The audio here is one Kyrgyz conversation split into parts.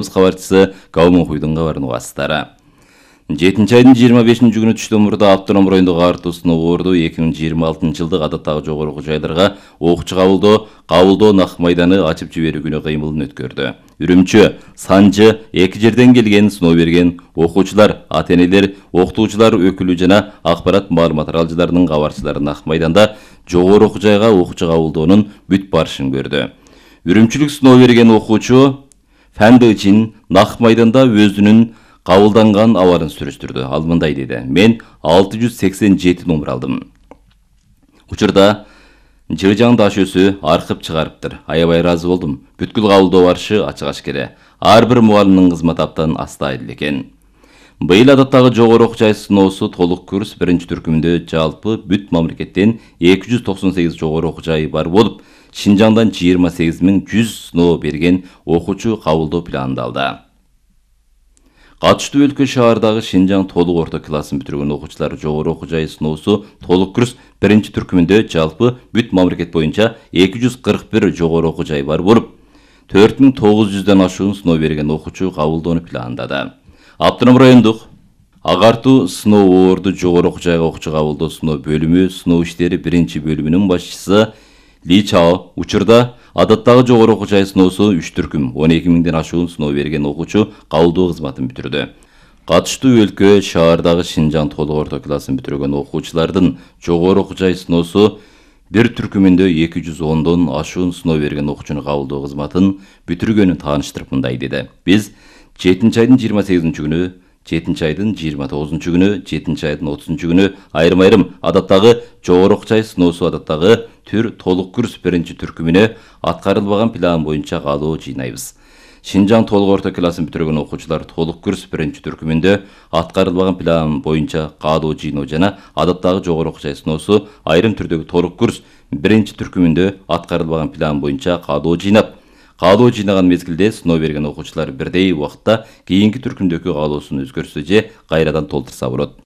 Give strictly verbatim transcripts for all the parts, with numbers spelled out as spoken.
Кабарчысы Каумун Хуйдун кабарын угасыздар. жетинчи айдын жыйырма бешинчи күнү түштөн мурда автоном райондогу артуу сыноо орду эки миң жыйырма алтынчы жылдык адаттагы жогору окуу жайларга окуучу кабылдоо, кабылдоо нак майданы ачып жиберүү күнү кыймылын өткөрдү. Үрүмчү, Санжы, эки жерден келген сыноо берген окуучулар, ата-энелер, окутуучулар өкүлү жана акпарат маалымат аралжыларынын кабарчылары нак майданда жогору окуу жайга окуучу кабылдоонун бүт барышын көрдү. Үрүмчүлүк сыноо берген окуучу Фәндычин нак майданда өзүнүн кабылданган абарын сүрүштүрдү. Ал мындай деди: "Мен алты жүз сексен жети номер алдым. Учурда Жыжаң даш өсү аркып чыгарыптыр. Аябай ыраазы болдум. Бүткүл кабылдоо барышы ачык-ачкере. Ар бир мугалимдин кызмат аптан астайыл экен." Быйыл адаттагы жогору окуу жай сыноосу толук курс биринчи түркүмүндө жалпы бүт мамлекеттен эки жүз токсон сегиз жогору окуу жайы бар болуп, Шинжаңдан жыйырма сегиз миң жүз сыноо берген окуучу кабылдоо пландалды. Катыштуу өлкө шаардагы Шинжаң толук орто классын бүтүргөн окуучулар жогору окуу жай сыноосу толук курс биринчи түркүмүндө жалпы бүт мамлекет боюнча эки жүз кырк бир жогору окуу жай бар болуп, төрт миң тогуз жүздөн ашуун сыноо берген окуучу кабылдоону пландады. Автоном райондук Агартуу сыноо орду жогору окуу жайга окуучу кабылдоо сыноо бөлүмү сыноо иштери биринчи бөлүмүнүн башчысы Ли Чао учурда адаттагы жогору окуу жай сыноосу үч түркүм он эки миңден ашуун сыноо берген окуучу кабылдоо кызматын бүтүрдү. Катыштуу өлкө шаардагы Шинжаң толук орто классын бүтүргөн окуучулардын жогору окуу жай сыноосу бир түркүмүндө эки жүз ондон ашуун сыноо берген окуучуну кабылдоо кызматын бүтүргөнүн тааныштырып мындай деди: "Биз жетинчи айдын жыйырма сегизинчи күнү, жетинчи айдын жыйырма тогузунчу күнү, жетинчи айдын отузунчу күнү айрым-айрым адаттагы жогору окуу жай сыноосу адаттагы түр толук курс биринчи түркүмүнө аткарылбаган план боюнча каалоо жыйнайбыз. Шинжаң толук орто классын бүтүргөн окуучулар толук курс биринчи түркүмүндө аткарылбаган план боюнча каалоо жыйноо жана адаттагы жогору окуу жай сыноосу айрым түрдөгү толук курс биринчи түркүмүндө аткарылбаган план боюнча каалоо жыйнап, каалоо жыйнаган мезгилде сыноо берген окуучулар бирдей убакытта кийинки түркүмдөгү каалоосун өзгөртсө же кайрадан толтурса болот."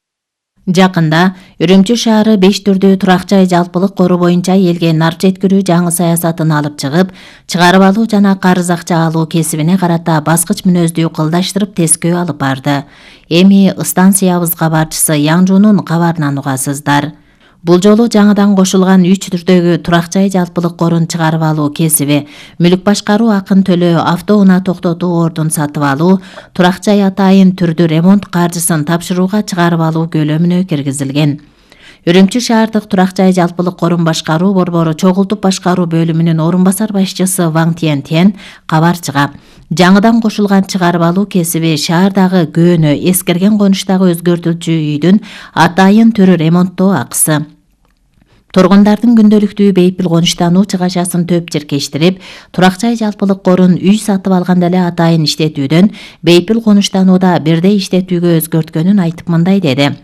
Жакында Үрүмчү шаары беш түрдүү турак жай жалпылык кору боюнча элге нарп жеткирүү жаңы саясатын алып чыгып, чыгарып алуу жана карыз акча алуу кесибине карата баскыч мүнөздүү кылдаштырып тескөө алып барды. Эми станциябыз кабарчысы Яңжунун кабарынан угасыздар. Бул жолу жаңыдан кошулган үч түрдөгү турак жай жалпылык корун чыгарып алуу кесиби, мүлк башкаруу акын төлөө, автоунаа токтотуу ордун сатып алуу, турак жай атайын түрдүү ремонт каржысын тапшырууга чыгарып алуу көлөмүнө киргизилген. Үрүмчү шаардык турак жай жалпылык корун башкаруу борбору чогултуп башкаруу бөлүмүнүн орун басар башчысы Ваң Тиен Тен кабарчыга жаңыдан кошулган чыгарып алуу кесиби шаардагы көөнө эскерген конуштагы өзгөртүлчү үйдүн атайын түрү ремонттоо акысы, тургундардын күндөлүктүү бейпил конуштануу чыгашасын төп черкештирип, турак жай жалпылык корун үй сатып алганда эле атайын иштетүүдөн бейпил конуштанууда бирдей иштетүүгө өзгөрткөнүн айтып мындай деди: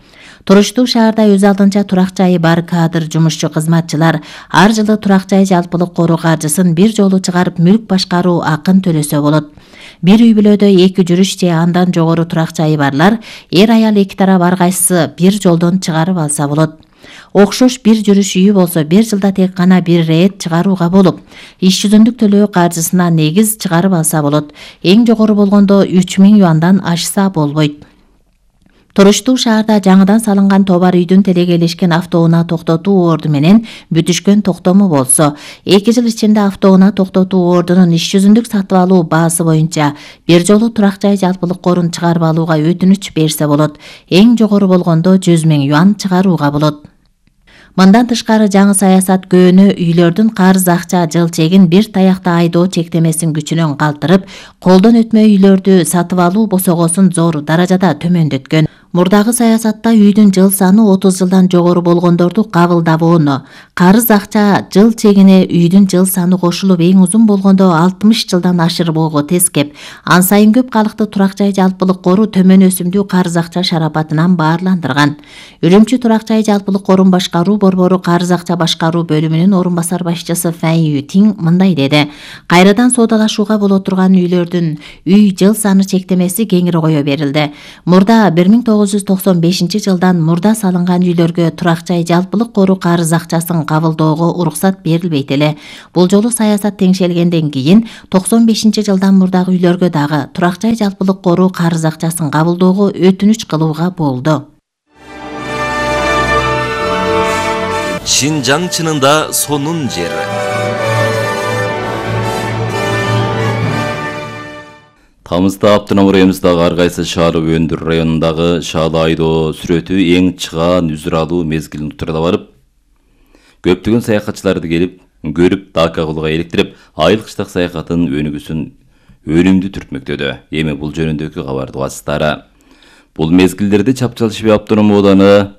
"Туруштуу шаарда өз алдынча турак жайы бар кадр жумушчу кызматчылар ар жылы турак жай жалпылык кору каржысын бир жолу чыгарып мүлк башкаруу акын төлөсө болот. Бир үй бүлөдө эки жүрүш же андан жогору турак жайы барлар эр аял эки тарап ар кайсысы бир жолдон чыгарып алса болот. Окшош бир жүрүш үйү болсо бир жылда тек гана бир рет чыгарууга болуп, иш жүзүндүк төлөө каржысына негиз чыгарып алса болот. Эң жогору болгондо үч миң юандан ашса болбойт. Туруштуу шаарда жаңыдан салынган товар үйдүн телегелешкен автоунаа токтотуу орду менен бүтүшкөн токтому болсо, эки жыл ичинде автоунаа токтотуу ордунун иш жүзүндүк сатып алуу баасы боюнча бир жолу турак жай жалпылык корун чыгарып алууга өтүнүч берсе болот. Эң жогору болгондо жүз миң юан чыгарууга болот. Мындан тышкары жаңы саясат көөнө үйлөрдүн карыз акча жыл чегин бир таякта айдоо чектемесин күчүнөн калтырып, колдон өтмө үйлөрдү сатып алуу босогосун зор даражада төмөндөткөн. Мурдагы саясатта үйдүн жыл саны отуз жылдан жогору болгондорду кабылдабоону, карыз акча жыл чегине үйдүн жыл саны кошулуп эң узун болгондо алтымыш жылдан ашырбоого тескеп, ан сайын көп калыкты турак жай жалпылык кору төмөн өсүмдүү карыз акча шарапатынан баарландырган. Үрүмчү турак жай жалпылык корун башкаруу борбору карыз акча башкаруу бөлүмүнүн орун басар башчысы Фэн Ютиң мындай деди: "Кайрадан соодалашууга боло турган үйлөрдүн үй жыл саны чектемеси кеңири кое берилди. Мурда бир миң тогуз тогуз жүз токсон бешинчи жылдан мурда салынган үйлөргө турак жай жалпылык кору карыз акчасын кабылдоого уруксат берилбейт эле. Бул жолу саясат теңшелгенден кийин токсон бешинчи жылдан мурдагы үйлөргө дагы турак жай жалпылык кору карыз акчасын кабылдоого өтүнүч кылууга болду. Шинжаң чынында сонун жер. Тамызда Аптынам районундагы ар кайсы шаары Өндүр районундагы Шаалы айдоо сүрөтү эң чыгаан үзүр алуу мезгилин утурда барып, көптөгөн саякатчыларды келип, көрүп, дака кылууга иликтирип, айыл кыштак саякатын өнүгүүсүн өнүмдүү түртмөктөдү. Эми бул жөнүндөгү кабарды угасыздары. Бул мезгилдерде Чапчал Шиби Аптынам ооданы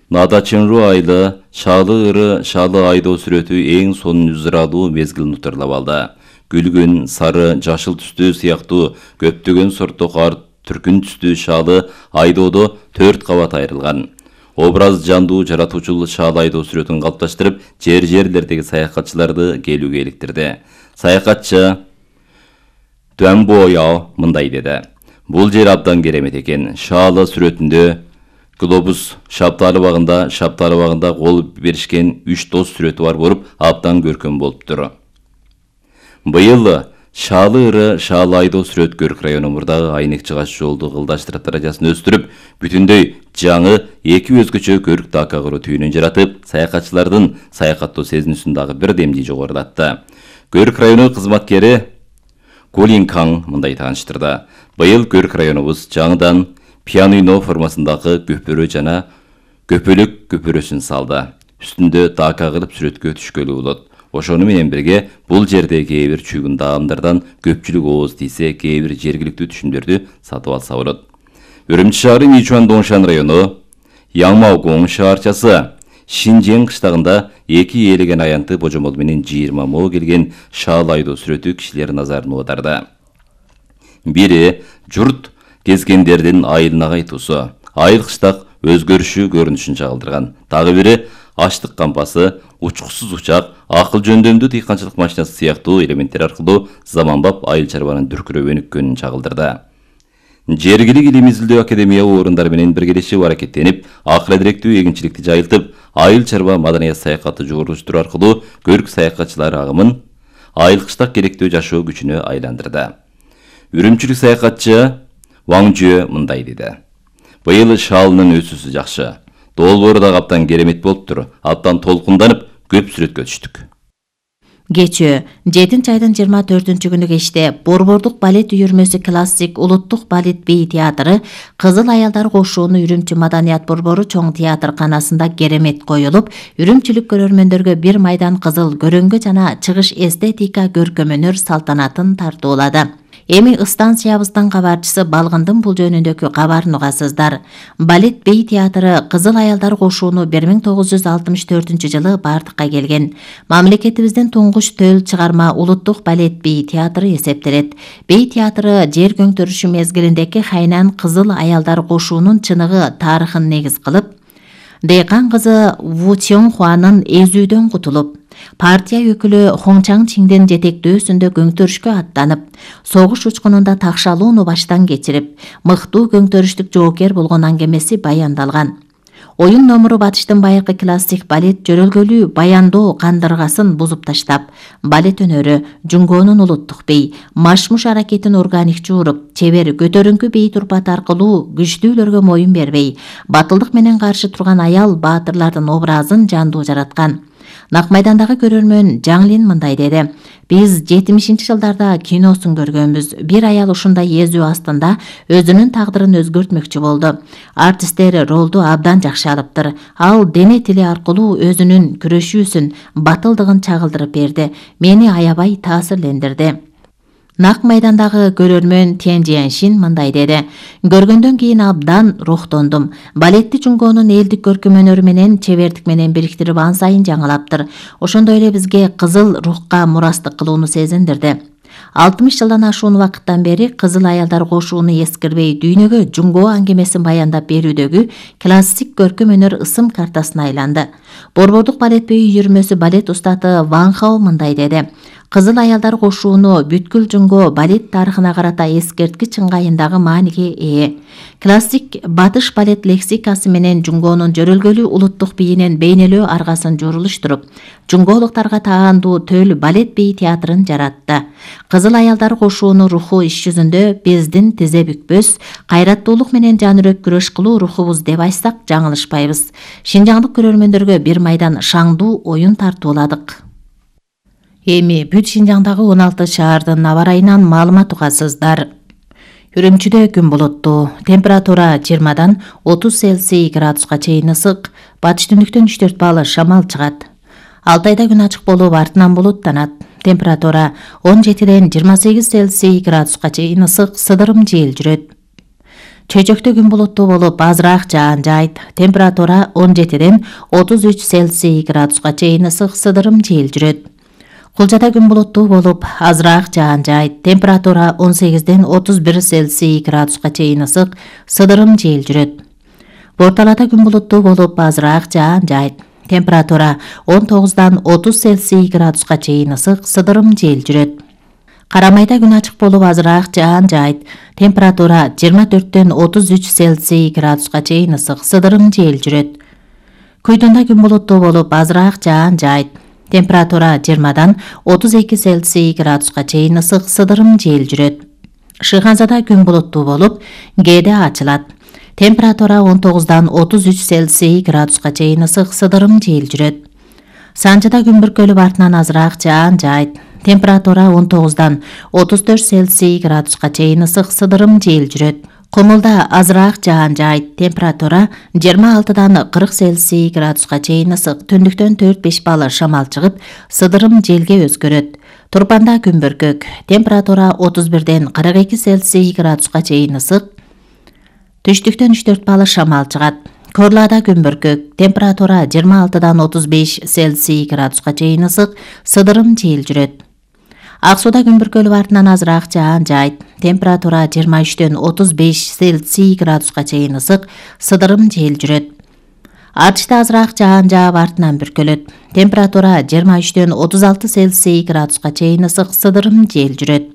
Надачынру айылы Шаалы ыры Шаалы айдоо сүрөтү эң сонун үзүр алуу мезгилин утурлап алды. Гүлгүн, сары, жашыл түстүү сыяктуу көптөгөн сорттуу кар түркүн түстүү шаалы айдоодо төрт кабат айрылган. Образ жандуу жаратуучул шаалы айдоо сүрөтүн калыпташтырып, жер-жерлердеги саякатчыларды келүүгө иликтирди. Саякатчы Дуанбояо мындай деди: "Бул жер абдан керемет экен. Шаалы сүрөтүндө глобус шапталы багында, шапталы багында кол беришкен үч дос сүрөтү бар болуп, абдан көркөм болуптур. Быйыл Шаалы ыры Шаалы айдоо сүрөт Көрк району мурдагы айнек чыгаш жолду кылдаштырып даражасын өстүрүп, бүтүндөй жаңы эки өзгөчө көрк дака кыруу түйүнүн жаратып, саякатчылардын саякаттоо сезинүүсүн дагы бир демди жогорулатты. Көрк району кызматкери Гулин Кан мындай тааныштырды: "Быйыл Көрк районубуз жаңыдан пианино формасындагы көпөрө жана көпөлөк көпөрөсүн салды. Үстүндө дака кылып сүрөткө түшкөлү болот. Ошону менен бирге бул жерде кээ бир чүйгүн даамдардан көпчүлүк ооз тийсе, кээ бир жергиликтүү түшүмдөрдү сатып алса болот." Үрүмчү шаары Мичуан Доңшан району Яңмаогоң шаарчасы Шинжең кыштагында эки ээлеген аянты божомол менен жыйырма мо келген шаалы айдоо сүрөтү кишилер назарын оодарды. Бири журт кезгендердин айылына кайтуусу, айыл кыштак өзгөрүшү көрүнүшүн чагылдырган. Дагы бири аштык кампасы, учкусуз учак, акыл жөндөмдүү дыйканчылык машинасы сыяктуу элементтер аркылуу заманбап айыл чарбанын дүркүрөп өнүккөнүн чагылдырды. Жергилик илим изилдөө академия орундары менен биргелешип аракеттенип, акыл эдиректүү эгинчиликти жайылтып, айыл чарба маданият саякаты жогорулуштуруу аркылуу көрк саякатчылары агымын айыл кыштак керектүү жашоо күчүнө айландырды. Үрүмчүлүк саякатчы Ваңжө мындай деди: "Быйыл шаалынын өсүүсү жакшы. Долбоору да абдан керемет болуптур. Абдан толкунданып, көп сүрөткө түштүк." Кечөө жетинчи айдын жыйырма төртүнчү күнү кечте Борбордук балет үйүрмөсү классик улуттук балет бей театры Кызыл аялдар кошууну Үрүмчү Маданият борбору чоң театрканасында керемет коюлуп, үрүмчүлүк көрөрмөндөргө бир майдан кызыл көрөнгө жана чыгыш эстетика көркөмөнөр салтанатын тартуулады. Эми станциябыздын кабарчысы Балгындын бул жөнүндөгү кабарын угасыздар. Балет бей театры Кызыл аялдар кошууну бир миң тогуз жүз алтымыш төртүнчү жылы бардыкка келген. Мамлекетибиздин туңгуч төл чыгарма улуттук балет бей театры эсептелет. Бей театры жер көңтөрүшү мезгилиндеги Хайнан Кызыл аялдар кошуунун чыныгы тарыхын негиз кылып, Дэйкан кызы Ву Цёңхуанын эзүүдөн кутулуп, партия өкүлү Хоңчаң Чиндин жетектөөсүндө көңтөрүшкө аттанып, согуш учкунунда такшалууну баштан кечирип, мыктуу көңтөрүштүк жоокер болгон аңгемеси баяндалган. Оюн номуру батыштын байыркы классик балет жөрөлгөлүү баяндоо кандыргасын бузуп таштап, балет өнөрү, Жунгонун улуттук бей, машмуш аракетин органик жууруп, чебер көтөрүңкү бей турпаты аркылуу күчтүүлөргө моюн бербей, батылдык менен каршы турган аял баатырлардын образын жандуу жараткан. Нак майдандагы көрөрмөн Жаңлин мындай деди: "Биз жетимишинчи жылдарда киносун көргөнбүз. Бир аял ушундай эзүү астында өзүнүн тагдырын өзгөртмөкчү болду. Артисттер ролду абдан жакшы алыптыр. Ал дене тили аркылуу өзүнүн күрөшүүсүн, батылдыгын чагылдырып берди. Мени аябай таасирлендирди." Нак майдандагы көрөрмөн Тен Жияншин мындай деди: "Көргөндөн кийин абдан рухтондум. Балетти Жунгонун элдик көркөм өнөрү менен чебердик менен бириктирип ан сайын жаңылаптыр. Ошондой эле бизге кызыл рухка мурастык кылууну сезиндирди. алтымыш жылдан ашуун убакыттан бери Кызыл аялдар кошууну эскирбей дүйнөгө Жунго аңгемесин баяндап берүүдөгү классик көркөм өнөр ысым картасына айланды." Борбордук балет бей үйүрмөсү балет устаты Ван Хао мындай деди: Кызыл аялдар кошууну бүткүл Жунго балет тарыхына карата эскерткич ыңгайындагы мааниге ээ. Классик батыш балет лексикасы менен Жунгонун жөрөлгөлүү улуттук бийинин бейнелөө аргасын журулуштуруп, жунголуктарга таандуу төл балет бей театрын жаратты. Кызыл аялдар кошууну руху иш жүзүндө биздин тизе бүкпөс, кайраттуулук менен жанүрөк күрөш кылуу рухубуз деп айтсак жаңылышпайбыз. Шинжаңдык көрөрмөндөргө бир майдан шаңдуу оюн тартууладык. Эми бүт Шинжаңдагы он алты шаардын аба ырайынан маалымат угасыздар. Үрүмчүдө күн булуттуу, температура жыйырмадан отуз Цельсий градуска чейин ысык, батыш түндүктөн үч төрт балл шамал чыгат. Алтайда күн ачык болуп артынан булуттанат. Температура он жетиден жыйырма сегиз Цельсий градуска чейин ысык, сыдырым жел жүрөт. Чөйжөктө күн булуттуу болуп азыраак жаан жайт. Температура он жетиден отуз үч Цельсий градуска чейин ысык, сыдырым жел жүрөт. Кулжада күн булуттуу болуп азыраак жаан жайт. Температура он сегизден отуз бир Цельсий градуска чейин ысык, сыдырым жел жүрөт. Борталада күн булуттуу болуп азыраак жаан жайт. Температура он тогуздан отуз Цельсий градуска чейин ысык, сыдырым жел жүрөт. Карамайда күн ачык болуп азыраак жаан жайт. Температура жыйырма төрттөн отуз үч Цельсий градуска чейин ысык, сыдырым жел жүрөт. Күйдүндө күн булуттуу болуп азыраак жаан жайт. Температура жыйырмадан отуз эки Цельсий градуска чейин ысык, сыдырым жел жүрөт. Шыйханзада күн булуттуу болуп, кээде ачылат. Температура он тогуздан отуз үч Цельсий градуска чейин ысык, сыдырым жел жүрөт. Санжыда күн бүркөлүп артынан азыраак жаан жайт. Температура он тогуздан отуз төрт Цельсий градуска чейин ысык, сыдырым жел жүрөт. Кумулда азыраак жаан жайт. Температура жыйырма алтыдан кырк Цельсий градуска чейин ысык, түндүктөн төрт беш балл шамал чыгып, сыдырым желге өзгөрөт. Турпанда күн бүркөк. Температура отуз бирден кырк эки Цельсий градуска чейин ысык, түштүктөн үч төрт балл шамал чыгат. Корлада күн бүркөк. Температура жыйырма алтыдан отуз беш Цельсий градуска чейин ысык, сыдырым жел жүрөт. Ак сууда күн бүркөлүп артынан азыраак жаан жайт. Температура жыйырма үчтөн отуз беш Цельсий градуска чейин ысык, сыдырым жел жүрөт. Артышта азыраак жаан жаап артынан бүркөлөт. Температура жыйырма үчтөн отуз алты Цельсий градуска чейин ысык, сыдырым жел жүрөт.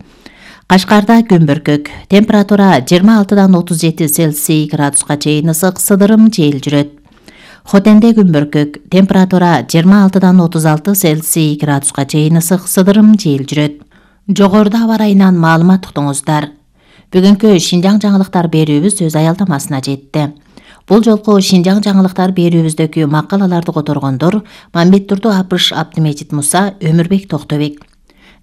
Кашкарда күн бүркөк. Температура жыйырма алтыдан отуз жети Цельсий градуска чейин ысык, сыдырым жел жүрөт. Хотенде күн бүркөк. Температура жыйырма алтыдан отуз алты Цельсий градуска чейин ысык, сыдырым жел жүрөт. Жогоруда аба ырайынан маалымат уктуңуздар. Бүгүнкү Шинжаң жаңылыктар берүүбүз өз аялдамасына жетти. Бул жолку Шинжаң жаңылыктар берүүбүздөгү макалаларды которгондор Мамбет Турду Апыш, Абдымежит Муса, Өмүрбек Токтобек.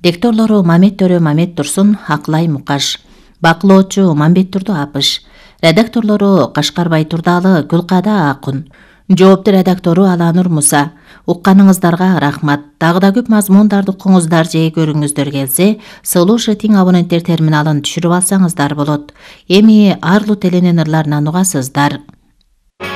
Дикторлору Мамет Төрө Мамет Турсун, Аклай Мукаш. Бакылоочу Мамбет Турду Апыш. Редакторлору Кашкарбай Турдалы, Гүлкада Акун. Жоопту редактору Аланур Муса. Укканыңыздарга рахмат. Дагы да көп мазмундарды укуңуздар же көрүңүздөр келсе, Слушай Тиң абоненттер терминалын түшүрүп алсаңыздар болот. Эми Арлу теленин ырларынан угасыздар.